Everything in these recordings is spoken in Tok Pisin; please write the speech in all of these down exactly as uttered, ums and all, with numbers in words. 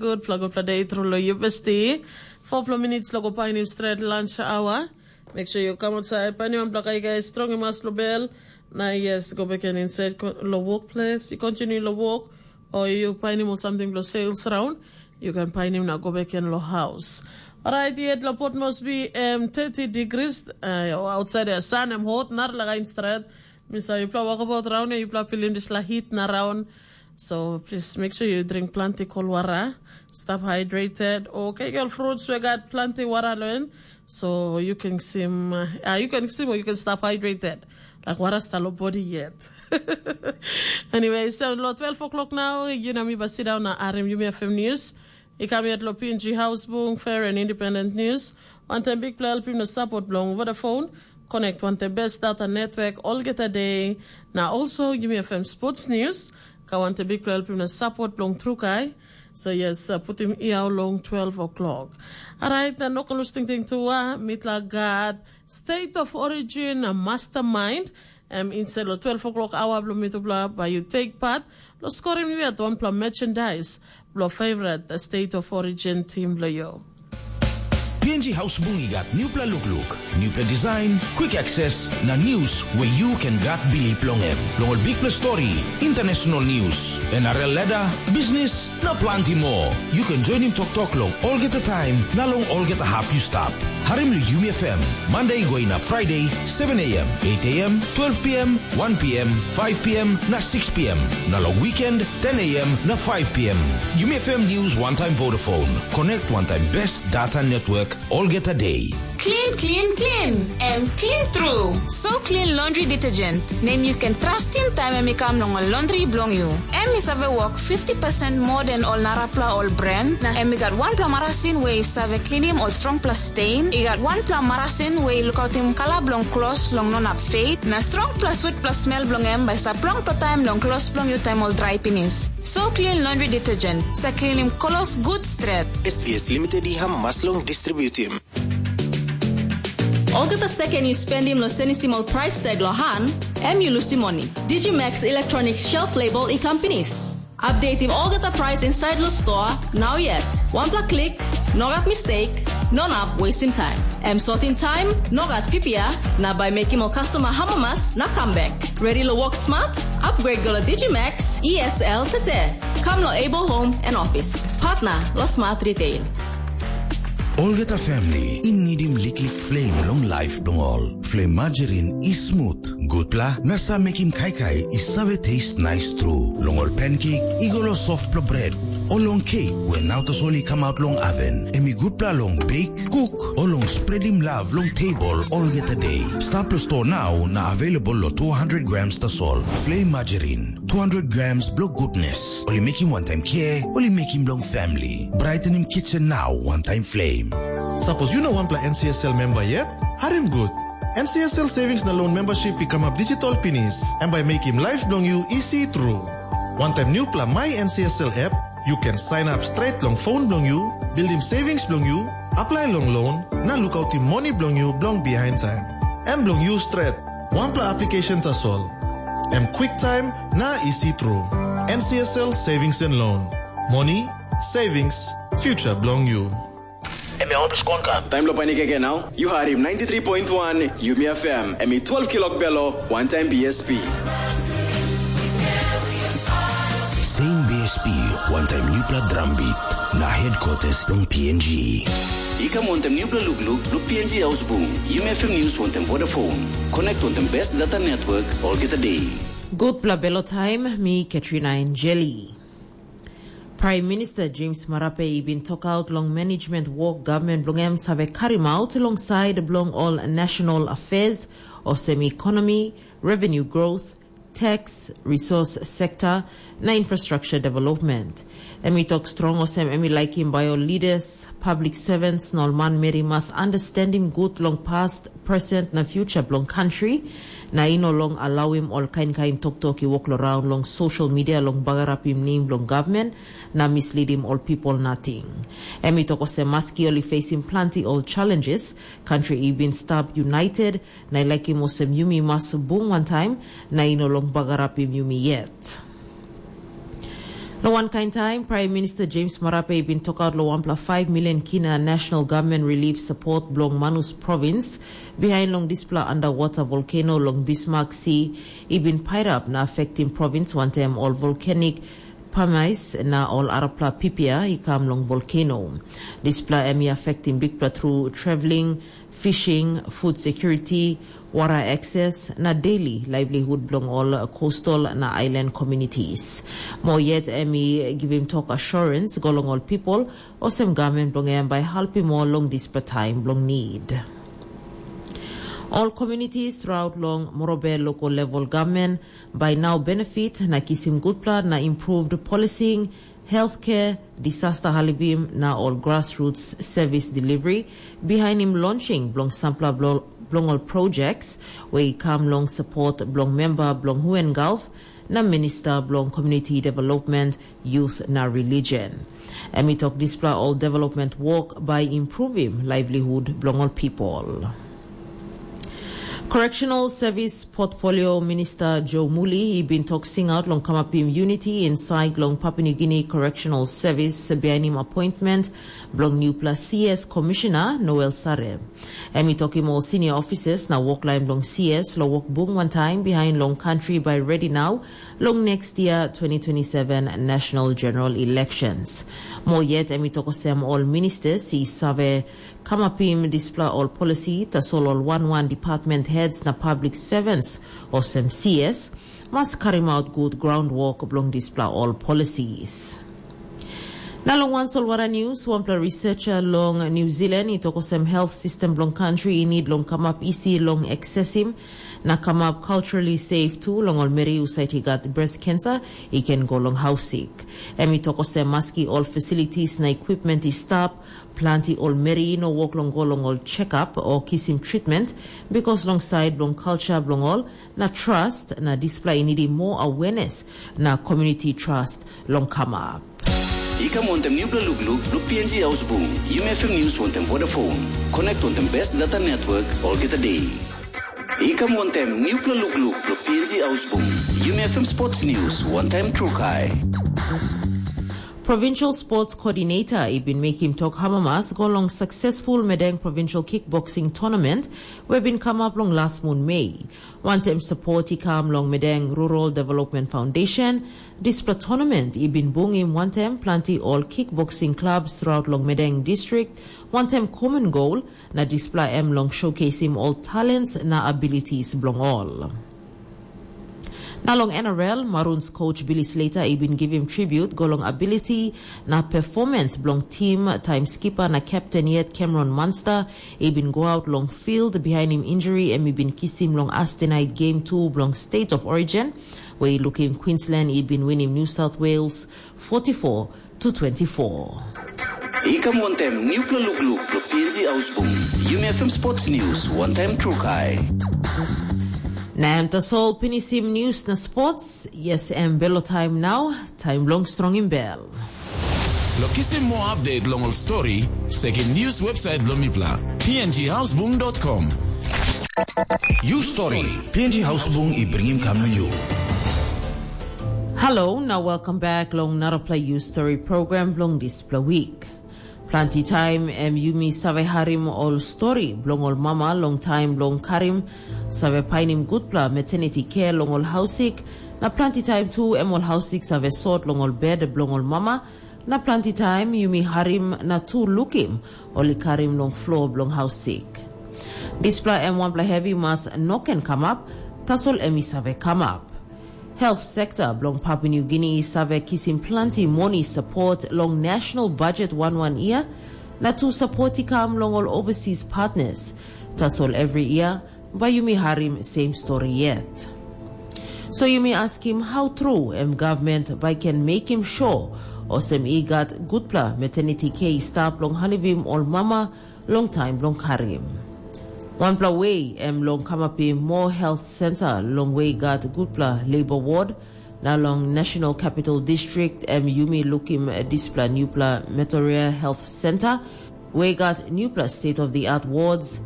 Gutpela gutpela de tru long yupesti. Four minutes lo go painim stret lunch hour. Make sure you come outside. Painim wanpela kaikai strong i mas lo bel. Na yes, go back and inside lo workplace. You continue lo work. Or you painim or something lo sales round. You can painim na go back and lo house. Alright, yet lo Port Moresby um, thirty degrees uh, outside the sun. I'm hot, not like in stret. Misa yupela wakabaut raun ya yupela pilim dispela hit na raun. So please make sure you drink plenty cold water, stay hydrated. Okay, girl, fruits we got plenty water learn. So you can sim, uh, you can sim or you can stay hydrated. Like water stalo body yet. Anyway, so lo twelve o'clock now, you know me, but sit down na arim, you may have news. I kam yet lo P N G House Bung, Fair and Independent News. Wantaim bikpela helpim na support bilong Vodafone, connect wantaim best data network olgeta day. Na also Yumi F M Sports News, ka wantaim bikpela helpim na support bilong Trukai. So yes, uh, putim iau long twelve o'clock. Alright, na no kalus tingting tua, mitla God, State of Origin, uh, Mastermind, em inside lo twelve o'clock hour bilong mitupela by you take part, lo scoring yet wanpela merchandise, lo favorite, uh, State of Origin team lo you. P N G House Bung i gat newpela lukluk, newpela design, quick access, na news where you can gat bilip long em. Long ol bikpela story, international news, N R L ladder, business, na planti more. You can join him toktok long olgeta time, na long olgeta hap you stap. Harim lo Yumi F M, Monday going up Friday, seven a.m., eight a.m., twelve p.m., one p.m., five p.m., na six p.m. Na long weekend, ten a.m. na five p.m. Yumi F M News one time Vodafone. Connect one time best data network olgeta day. Clean, clean, clean. Em clean tru. So clean laundry detergent. Nem you can trust him time em i kam long ol laundry bilong you. Em i save work fifty percent more than ol narapla ol brand. Na em i gat wanpela marasin we i save cleanim ol strongpela stain. I gat wanpela marasin we i lukautim kala bilong klos long no nap fade. Na strongpela sweetpela smell bilong em bai stap longpela taim long klos bilong you taim ol drai pinis. So clean laundry detergent. Sa cleanim kolos good stret. S V S Limited i hamas long distributim. Olgeta second you spendim lo senisim ol price tag lo han, em you lusim moni. Digimax Electronics shelf label i kam pinis. Updateim olgeta price inside lo store, now yet. Wanpela klik, no gat mistake, no nap wasting time. Em sortim time, no gat pipia, na bai mekim ol customer hamamas na come back. Ready lo work smart? Upgrade go lo Digimax E S L tete. Come lo Able Home and Office. Partner lo Smart Retail. Olgeta family i nidim liklik flame long life bilong ol. Flame margarine i smooth, gutpela na sa mekim kaikai i save taste nice tru. Long ol pancake i go lo softpela bread. O long cake we nau tasol i come out long oven, em i gutpela long bake, cook, o long spreadim love long table olgeta day. Stap lo store now na available lo two hundred grams tasol. Flame margarine, two hundred grams blo goodness. Ol i mekim wantaim care, ol i mekim long family. Brightening kitchen now wantaim flame. Sapos yu no wanpela N C S L member yet, harim gut. N C S L savings na loan membership i kamap digital pinis. Em bai mekim life bilong yu isi tru. Wantaim newpela My N C S L app, you can sign up straight long phone bilong you, buildim savings bilong you, apply long loan, na lukautim moni bilong you bilong behind time. Em bilong you stret, wanpela application tasol. Em quick time na isi tru. N C S L Savings and Loan. Money, savings, future bilong you. Em ya olpes konka. Taim lo panik eke nau, yu harim ninety three point one Yumi F M, em i twelve kilok belo, wantaim B S P. Same B S P, wantaim newpela drum beat, na headquarters long P N G. I kam wantaim newpela lukluk lo P N G House Boom, Yumi F M News wantaim Vodafone. Connect wantaim best data network, olgeta day. Gutpela belo taim, mi Katrina Angeli. Prime Minister James Marape i bin tokaut long management wok gavman bilong em save karim aut long sait bilong ol national affairs, olsem economy, revenue growth, tax, resource sector, na infrastructure development. Em i tok strong olsem em i laikim bai ol leaders, public servants na ol manmeri mas understandim gut long past, present na future bilong country, na i no long alauim ol kain kain toktok i wok long raun long social media long bagarapim nem bilong gavman na mislidim ol pipol nating. Em i tok olsem maski ol i facing planti ol challenges, country i bin stap united, na i laikim olsem yumi mas bung wantaim, na i no long bagarapim yumi yet. Long wankain taim, Prime Minister James Marape i bin tokaut long wanpela five million kina National Government Relief Support bilong Manus Province, bihain long dispela underwater volcano long Bismarck Sea i bin pairap na affectim province wantaim ol volcanic pamais na ol arapela pipia i kam long volcano. Dispela em i affectim bikpela tru traveling, fishing, food security, water access na daily livelihood bilong ol coastal na island communities. Mo yet em i givim tok assurance go long ol people, olsem government bilong em bai helpim ol long dispela taim bilong need. Ol communities throughout long Morobe local level government bai now benefit na kisim gutpela na improved policing, healthcare, disaster halivim na ol grassroots service delivery, bihainim launching bilong sampela bilong ol projects we i kam long support bilong member bilong Huen Gulf na Minister bilong Community Development, Youth na Religion. Em i tok dispela ol development work bai improvim livelihood bilong ol people. Correctional Service Portfolio Minister Joe Muli i bin tok singaut long kamapim unity inside long Papua New Guinea Correctional Service bihainim appointment bilong newpela C S Commissioner Noel Sare. Em i tokim ol senior officers na woklain bilong C S long wokbung wantaim bihain long country by ready now long next year twenty twenty-seven national general elections. Mo yet em i tok olsem ol ministers i save kamapim dispela ol policy, tasol ol wan wan department heads na public servants, olsem C S, mas karim out gut groundwork bilong dispela ol policies. Na long wan solwara news, wanpela researcher long New Zealand i tok olsem health system bilong country i need long kamap isi long accessim na kamap culturally safe tu long ol meri husat i gat breast cancer i ken go long hausik. Em i tok olsem maski ol facilities na equipment i stap, planti ol meri i no wok long go long ol check-up o kisim treatment, because long side bilong culture bilong ol na trust na dispela i nidim more awareness na community trust long kamap. I kam wantem nupela lukluk blo P N G Haus Bung, Yumi F M News wantem Vodafone. Connect wantem best data network olgeta day. I kam wantem nupela lukluk blo P N G Haus Bung, Yumi F M Sports News wantem Trukai. Provincial Sports Coordinator i bin mekim tok hamamas go long successful Medeng Provincial Kickboxing Tournament we bin kamap long las mun Mei. Wantem support i kam long Medeng Rural Development Foundation, dispela tournament i bin bungim wantem planti ol kickboxing clubs throughout long Medeng District, wantem common goal, na dispela em long showcasing ol talents na abilities bilong ol. Na long N R L, Maroons coach Billy Slater i bin givim tribute go long ability na performance bilong tim, taim skipper na captain yet Cameron Munster i bin go out long field bihainim injury em i bin kisim long astenait game two bilong State of Origin, we i lukim Queensland i bin winim New South Wales forty-four to twenty-four. I kam wantem nupela lukluk blo P N G Haus Bung, Yumi F M Sports News wantem Trukai. Na em tasol pinisim news na sports. Yes, em belo taim nau, taim long strongim bel. Lo kisim more update long ol story, sekim news website blo mipla, P N G Haus Bung dot com. You story, P N G Haus Bung i bringim kam na you. Hello, na welcome back long narapela You Story program bilong dispela week. Planti taim em yumi save harim ol stori bilong ol mama long taim bilong karim, save painim gutpela maternity care long ol hausik, na planti taim tu em ol hausik save sot long ol bed bilong ol mama, na planti taim yumi harim na tu lukim ol i karim long flo bilong hausik. Dispela em wanpela hevi mas no ken kamap, tasol em i save kamap. Health sekta bilong Papua New Guinea i save kisim planti moni sapot long national budget wan wan yia, na tu sapot i kam long ol overseas partners. Tasol every yia, bai yumi harim same story yet. So yumi askim, how true em government bai ken mekim sure olsem i gat gutpela maternity care i stap long halivim ol mama long taim bilong karim. Wanpela we em long kamapim moa health center long we i gat gutpela labor ward, na long National Capital District em yumi lukim dispela newpela Metoria Health Center, we i gat newpela state of the art wards,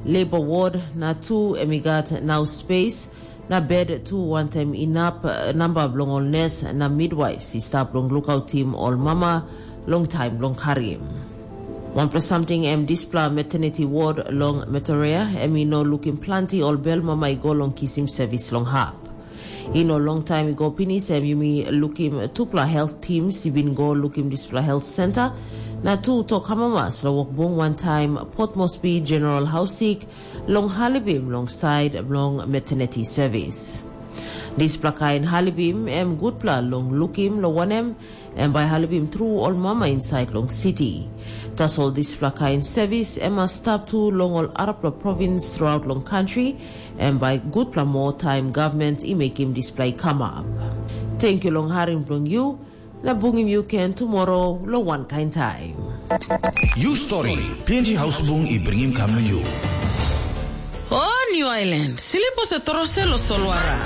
labor ward, na tu em i gat nau space Na bed tu wantaim inap eh, namba bilong ol nes na midwaifs i stap long lukautim ol mama long taim bilong karim. Wanpela samting em dispela maternity ward long Metorea em i no lukim planti ol bel mama i go long kisim sevis long hap. I no long taim i go pinis em yumi lukim tupela health teams i bin go lukim dispela health center, na tu tok amamas long wokbung wantaim Port Moresby General Hausik long Halibim long side bilong maternity service. Dispela kain halibim em gutpela long lukim long wanem em bai halibim tru ol mama inside long city. Tasol dispela kain service em mas stap tu long ol arapela province throughout long country, em bai gutpela moa taim government i mekim dispela i kamap. Thank you long harim bilong you, na bungim yu ken tumoro long wankain taim. You story, P N G Hausbung i bringim kam na you. O New Island, silipo se torose lo solwara.